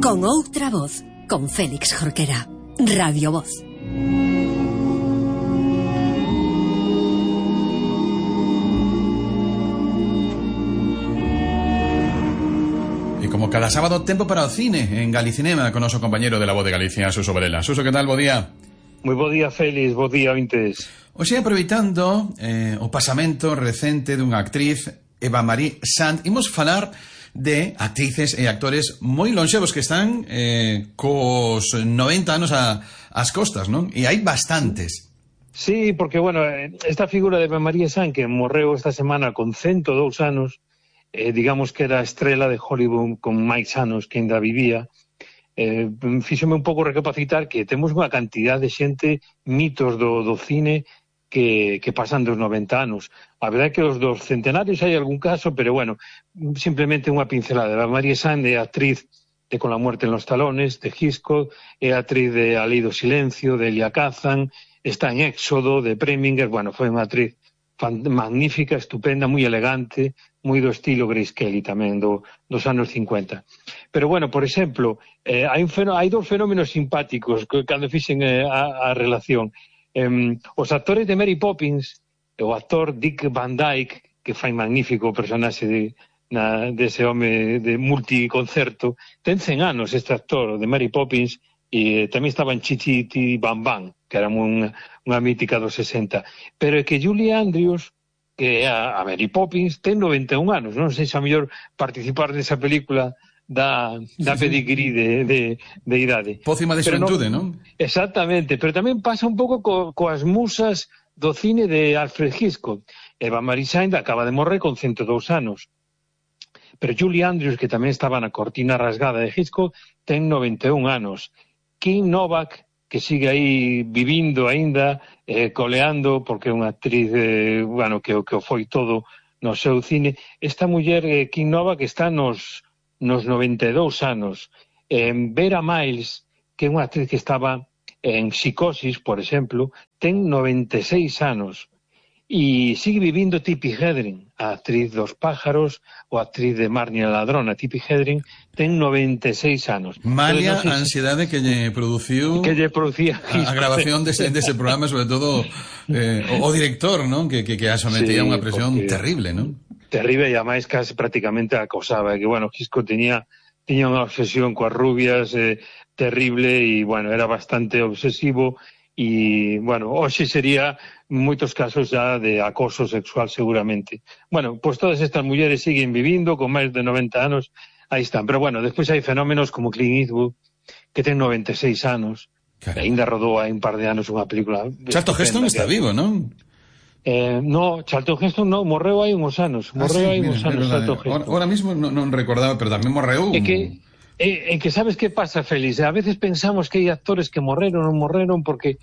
Con outra voz, con Félix Jorquera. Radio Voz. E como cada sábado, tempo para o cine en Galicinema con noso compañeiro de La Voz de Galicia, Suso Varela. Suso, que tal? Bo día. Moi bo día, Félix, bo día, ointes. Hoxe, aproveitando o pasamento recente dunha actriz, Eva Marie Saint, imos falar de actrices e actores moi lonxevos que están cos 90 anos ás costas, non? E hai bastantes. Sí, porque, bueno, esta figura de Eva Marie Saint, que morreu esta semana con 102 anos, digamos que era a estrela de Hollywood con máis anos que ainda vivía, fíxome un pouco recapacitar que temos unha cantidad de xente, mitos do cine, que pasan dos 90 anos. A verdade é que os dos centenarios hai algún caso, pero bueno, simplemente unha pincelada. Eva Marie Saint é actriz de Con la muerte en los talones, de Hitchcock, é actriz de A lei do silencio, de Elia Kazan, está en Éxodo, de Preminger. Bueno, foi unha actriz magnífica, estupenda, moi elegante, moi do estilo Grace Kelly tamén, dos anos 50. Pero bueno, por exemplo, hai dos fenómenos simpáticos cando fixen a relación. Os actores de Mary Poppins, o actor Dick Van Dyke, que fai magnífico personaxe dese home de multiconcerto, ten 100 anos este actor de Mary Poppins, e tamén estaba en Chichi Bam Bam, que era unha mítica dos 60. Pero é que Julie Andrews, que é a Mary Poppins, ten 91 anos. Non sei se a mellor participar desa película da pedigrí de idade. Pócima de xuventude, non? Exactamente, pero tamén pasa un pouco coas musas do cine de Alfred Hitchcock. Eva Marie Saint acaba de morrer con 102 anos. Pero Julie Andrews, que tamén estaba na cortina rasgada de Hitchcock, ten 91 anos. Kim Novak, que sigue aí vivindo aínda, coleando, porque é unha actriz que o foi todo no seu cine. Esta muller, Kim Novak, está nos 92 anos. Vera Miles, que é unha actriz que estaba en Psicosis, por exemplo, ten 96 anos. E sigue vivindo Tippi Hedren, a actriz dos pájaros, ou a actriz de Marnie a ladrona. Tippi Hedren ten 96 anos. Malia a ansiedade que lle produciu a grabación dese programa, sobre todo o director, non? Que a sometía a unha presión terrible, non? Terrible, e ademais casi prácticamente acosaba, que, bueno, Hitchcock tiña unha obsesión coas rubias terrible, e, bueno, era bastante obsesivo, e, bueno, hoxe sería moitos casos já de acoso sexual seguramente. Bueno, pois todas estas mulleres siguen vivindo con máis de 90 anos, aí están. Pero, bueno, despois hai fenómenos como Clint Eastwood, que ten 96 anos, e ainda rodou hai un par de anos unha película. Charlton Heston está vivo, non? No, Charlton Heston non, morreu hai uns anos. Charlton Heston. Ahora mismo non recordaba, pero tamén morreu. É que sabes que pasa, Félix? A veces pensamos que hai actores que morreron ou non morreron porque,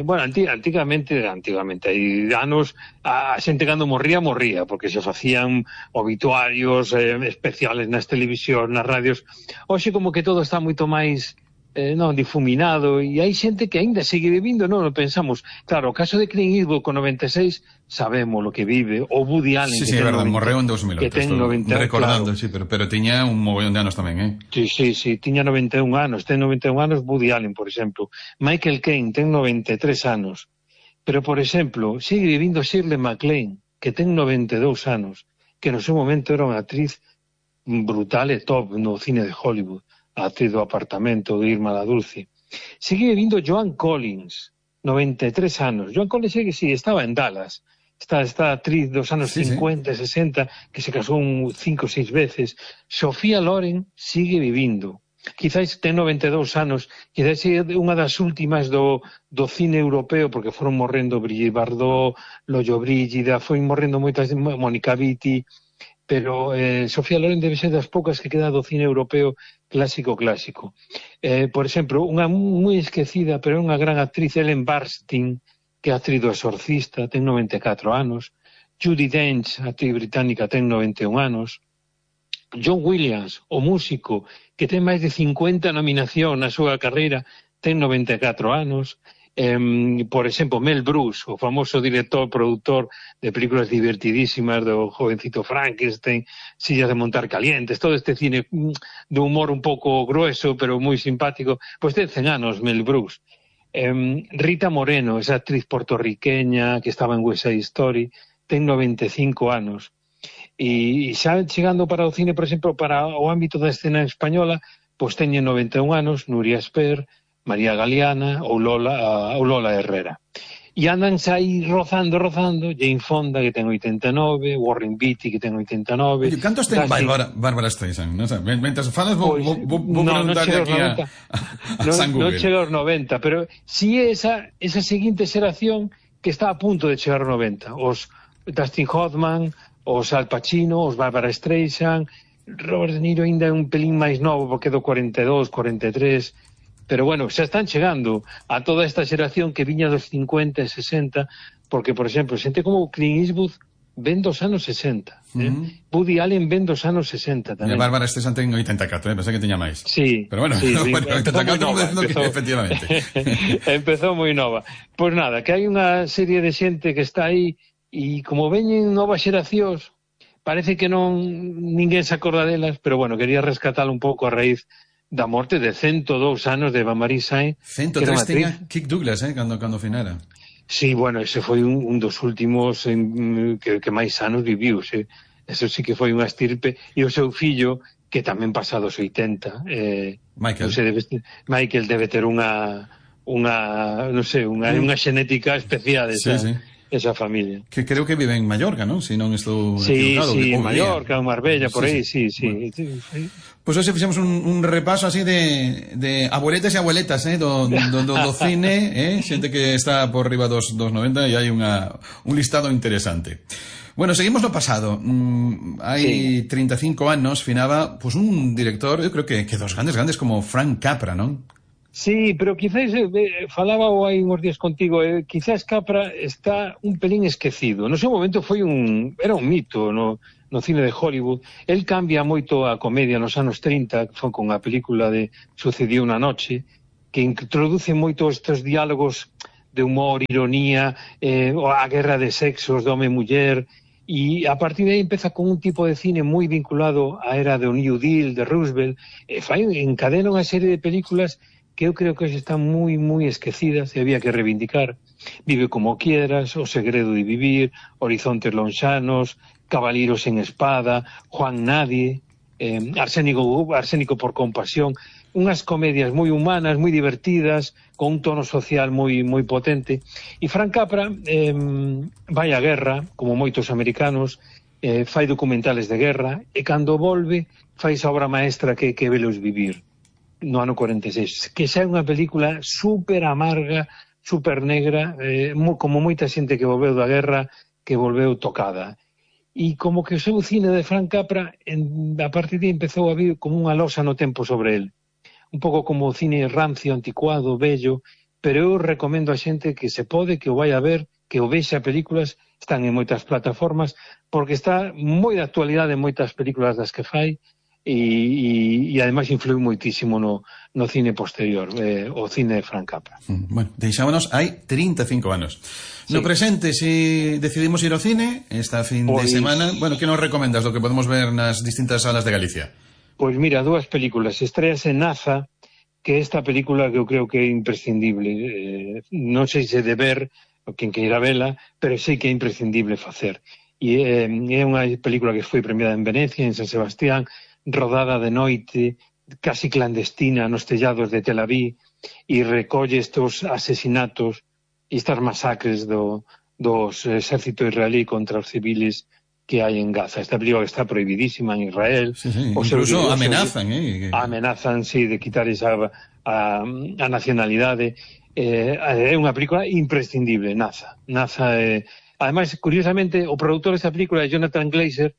bueno, antigamente, hai anos, a xente cando morría, porque se facían obituarios especiales nas televisións, nas radios. Hoxe como que todo está moito máis difuminado, e hai xente que aínda sigue vivindo, non o pensamos. Claro, o caso de Clint Eastwood con 96 sabemos lo que vive, o Woody Allen, sí, é verdade, morreu en 2008, que ten 90, recordando, claro. Sí, pero tiña un mogollón de anos tamén, Sí, tiña 91 anos, ten 91 anos Woody Allen, por exemplo. Michael Caine ten 93 anos, pero, por exemplo, sigue vivindo Shirley MacLaine, que ten 92 anos, que no seu momento era unha actriz brutal e top no cine de Hollywood, a actriz do Apartamento, de Irma la Dulce. Sigue vivindo Joan Collins, 93 anos. Joan Collins estaba en Dallas. Esta actriz dos anos 50 e 60, que se casou 5 ou 6 veces. Sofía Loren sigue vivindo. Quizás ten 92 anos, quizás é unha das últimas do cine europeo, porque foron morrendo Brigitte Bardot, Loyo Brígida, foi morrendo moitas, Mónica Vitti, pero Sofía Loren debe ser das poucas que queda do cine europeo clásico. Por exemplo, unha moi esquecida, pero é unha gran actriz, Ellen Burstyn, que é actriz do Exorcista, ten 94 anos. Judi Dench, actriz británica, ten 91 anos. John Williams, o músico, que ten máis de 50 nominacións na súa carreira, ten 94 anos. Por exemplo, Mel Brooks, o famoso director, produtor de películas divertidísimas do Jovencito Frankenstein, Sillas de montar calientes, todo este cine de humor un pouco grueso, pero moi simpático, pois ten 100 anos Mel Brooks. Rita Moreno, esa actriz puertorriqueña que estaba en West Side Story, ten 95 anos. E xa chegando para o cine, por exemplo, para o ámbito da escena española, pois teñen 91 anos, Nuria Esper, María Galeana ou Lola Herrera. E andan aí rozando, Jane Fonda, que ten 89, Warren Beatty, que ten 89... Oye, cantos ten Bárbara Streisand? Non sei, mentre falas vou preguntarle aquí a San Google. Non chega aos 90, pero si é esa seguinte xeración que está a punto de chegar aos 90. Os Dustin Hoffman, os Al Pacino, os Bárbara Streisand, Robert De Niro ainda é un pelín máis novo, porque é do 42, 43... Pero bueno, xa están chegando a toda esta xeración que viña dos 50 e 60, porque, por exemplo, xente como Clint Eastwood ven dos anos 60. Woody Allen ven dos anos 60 tamén. E a Bárbara Streisand ten 84, pensei que tiña máis. Sí. Pero bueno, sí, bueno 84 efectivamente. Empezou moi nova. Pois nada, que hai unha serie de xente que está aí e como veñen novas xeracións, parece que non ninguén se acorda delas, pero bueno, quería rescatar un pouco a raíz da morte de 102 anos de Eva-Marie Saint. 103 tiña Kirk Douglas, cando finara. Sí, bueno, ese foi un dos últimos que máis anos viviu, eso sí que foi unha estirpe, e o seu fillo, que tamén pasa dos 80, Michael debe ter unha xenética especial esa familia. Que creo que vive en Mallorca, non? Se non estou equivocado. Sí, Mallorca, Marbella, por aí, sí. Pois hoxe fixemos un repaso así de abueletas e abueletas do cine, xente que está por riba dos 90 e hai un listado interesante. Bueno, seguimos no pasado. Hai 35 anos finaba pues un director, eu creo que dos grandes como Frank Capra, non? Sí, pero quizás, falaba hai uns días contigo, quizás Capra está un pelín esquecido. No seu momento era un mito no cine de Hollywood. El cambia moito a comedia nos anos 30, que foi con a película de Sucedió una noche, que introduce moito estes diálogos de humor, ironía, a guerra de sexos, de home e muller, e a partir de aí empeza con un tipo de cine moi vinculado á era do New Deal, de Roosevelt, encadena unha serie de películas que eu creo que hoxe están moi esquecidas e había que reivindicar. Vive como quieras, O segredo de vivir, Horizontes lonxanos, Caballeros en espada, Juan Nadie, Arsénico por compasión, unhas comedias moi humanas, moi divertidas, con un tono social moi potente. E Frank Capra vai á guerra, como moitos americanos, fai documentales de guerra, e cando volve fai esa obra maestra que Velos vivir, no ano 46, que xa é unha película super amarga, super negra, como moita xente que volveu da guerra, que volveu tocada. E como que o seu cine de Frank Capra, a partir de aí empezou a vir como unha losa no tempo sobre el. Un pouco como o cine rancio, anticuado, bello, pero eu recomendo a xente que se pode, que o vai a ver, que o vexa películas, están en moitas plataformas, porque está moi de actualidade en moitas películas das que fai, e ademais influiu moitísimo no cine posterior, o cine de Frank Capra. Bueno, deixámonos hai 35 anos. No presente, se decidimos ir ao cine esta fin de semana, bueno, que nos recomendas do que podemos ver nas distintas salas de Galicia? Pois mira, dúas películas. Estreas en NASA, que esta película que eu creo que é imprescindible, non sei se de ver quen queira vela, pero sei que é imprescindible facer. E é unha película que foi premiada en Venecia, en San Sebastián, rodada de noite, casi clandestina nos tellados de Tel Aviv, e recolle estes asesinatos e estas masacres dos exército israelí contra os civiles que hai en Gaza. Esta película está prohibidísima en Israel. Incluso amenazan, amenazan, sí, de quitar a nacionalidade. É unha película imprescindible, NASA. Ademais, curiosamente, o produtor desta película é Jonathan Glazer,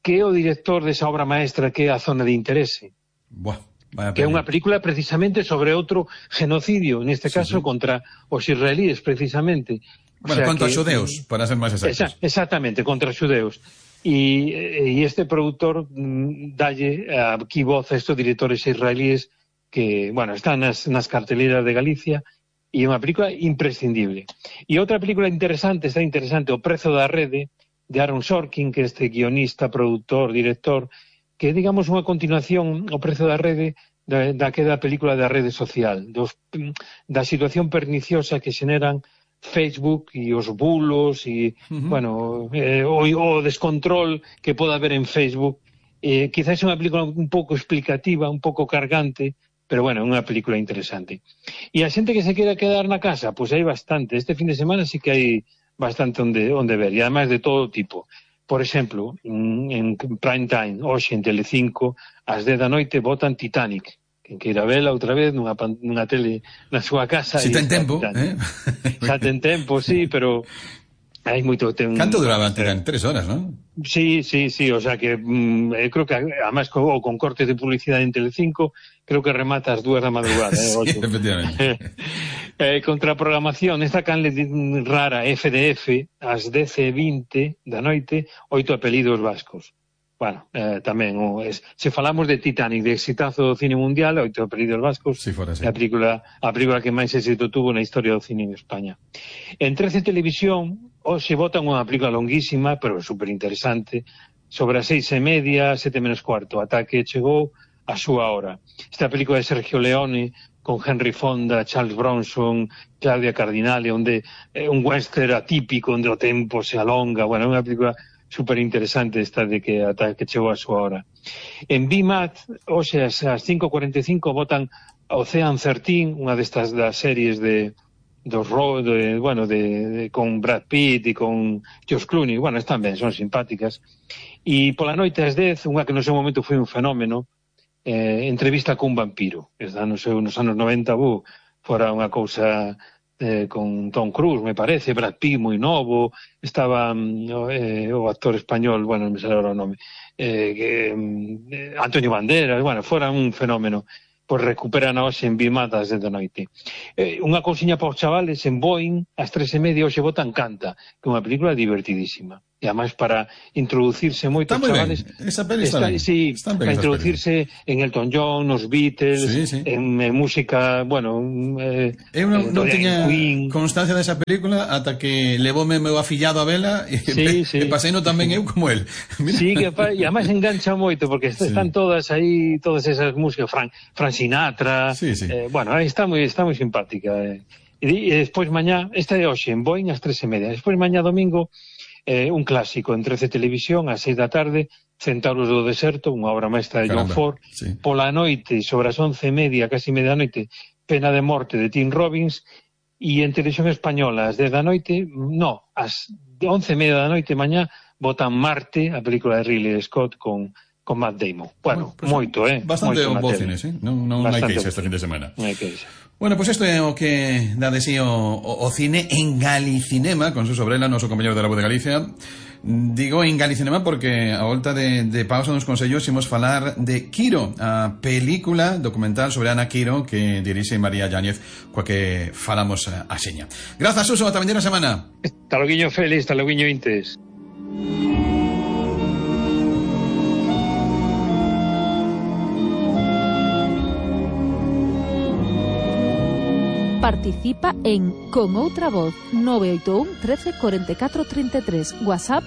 que é o director desa obra maestra que é A zona de interese. Que é unha película precisamente sobre outro genocidio, neste caso contra os israelíes, precisamente. Bueno, contra os xudeus, para ser máis exactos. Exactamente, contra os xudeus. E este produtor dalle aquí voz a estes directores israelíes que, bueno, están nas carteleras de Galicia e unha película imprescindible. E outra película interesante, O prezo da rede, de Aaron Sorkin, que é este guionista, produtor, director, que é, digamos, unha continuación, O prezo da rede, daquela película da rede social, da situación perniciosa que xeneran Facebook e os bulos e, bueno, o descontrol que pode haber en Facebook. Quizás é unha película un pouco explicativa, un pouco cargante, pero, bueno, é unha película interesante. E a xente que se quera quedar na casa, pois hai bastante. Este fin de semana sí que hai bastante onde ver, e además de todo tipo. Por exemplo, en prime time, hoxe en Telecinco, ás 10 da noite botan Titanic. Quen queira vela outra vez nunha tele na súa casa. Si ten tempo, Xa ten tempo, sí, pero hai moito tempo. Canto duraba? Eran 3 horas, non? Sí, o sea que creo que además con cortes de publicidade en Telecinco, creo que remata ás 2 da madrugada. Sí, efectivamente. Contra a programación, esta canle rara FDF, ás 10:20 da noite, 8 apelidos vascos. Bueno, tamén, se falamos de Titanic, de exitazo do cine mundial, 8 apelidos vascos, sí, fora, sí. A película que máis éxito tuvo na historia do cine en España. En 13 Televisión, hoxe botan unha película longuísima, pero superinteresante, sobre as 6:30, 7:15, ata que chegou a súa hora. Esta película de Sergio Leone, con Henry Fonda, Charles Bronson, Claudia Cardinale, onde é un western atípico, onde o tempo se alonga, bueno, é unha película superinteresante esta de que ata que chegou a súa hora. En BMAT, hoxe ás 5:45 botan Ocean 13, unha destas das series con Brad Pitt e con George Clooney, bueno, están ben, son simpáticas. E pola noite ás 10, unha que no seu momento foi un fenómeno, Entrevista cun vampiro, está nos anos 90, fora unha cousa con Tom Cruise, me parece, Brad Pitt moi novo, estaba o actor español, bueno, non me sale agora o nome, Antonio Banderas, bueno, fora un fenómeno. Pois recuperan hoxe en Bimatas de noite. Unha cousiña para os chavales, en Boeing, ás 3:30 hoxe botan Canta, que é unha película divertidísima. E además para introducirse moito os chavales. Esa peli está ben. Sí, para introducirse en Elton John, nos Beatles, sí. En música, bueno, eu non tiña constancia desa película ata que levoume meu afillado a vela e paseino tamén eu como el. Sí, e además engancha moito porque están todas aí, todas esas músicas, Frank Sinatra, bueno, está moi simpática. E despois mañá, esta de hoxe en Boeing ás 3:30, despois mañá domingo un clásico en 13 Televisión ás 6 da tarde, Centauros do Deserto, unha obra maestra de John Ford. Pola noite, sobre as 11:30, casi medianoite, Pena de morte de Tim Robbins. E en Televisión Española ás 10 da noite, ás 11:30 da noite mañá, botan Marte, a película de Ridley Scott con Matt Damon. Bueno, pues moito, bastante bo cine, non hai queixa este fin de semana. Non hai queixa. Bueno, pues isto é o que dá de sí o cine en Galicinema, con su sobrela, noso compañero de la Voz de Galicia. Digo en Galicinema porque a volta de pausa nos consellos imos falar de Quiro, a película documental sobre Ana Quiro que dirixe María Yáñez, coa que falamos a seña. Grazas, Suso, ata vindeira semana. Hasta loguiño, Félix, hasta loguiño, Intes. Participa en Con Outra Voz 981 13 44 33, WhatsApp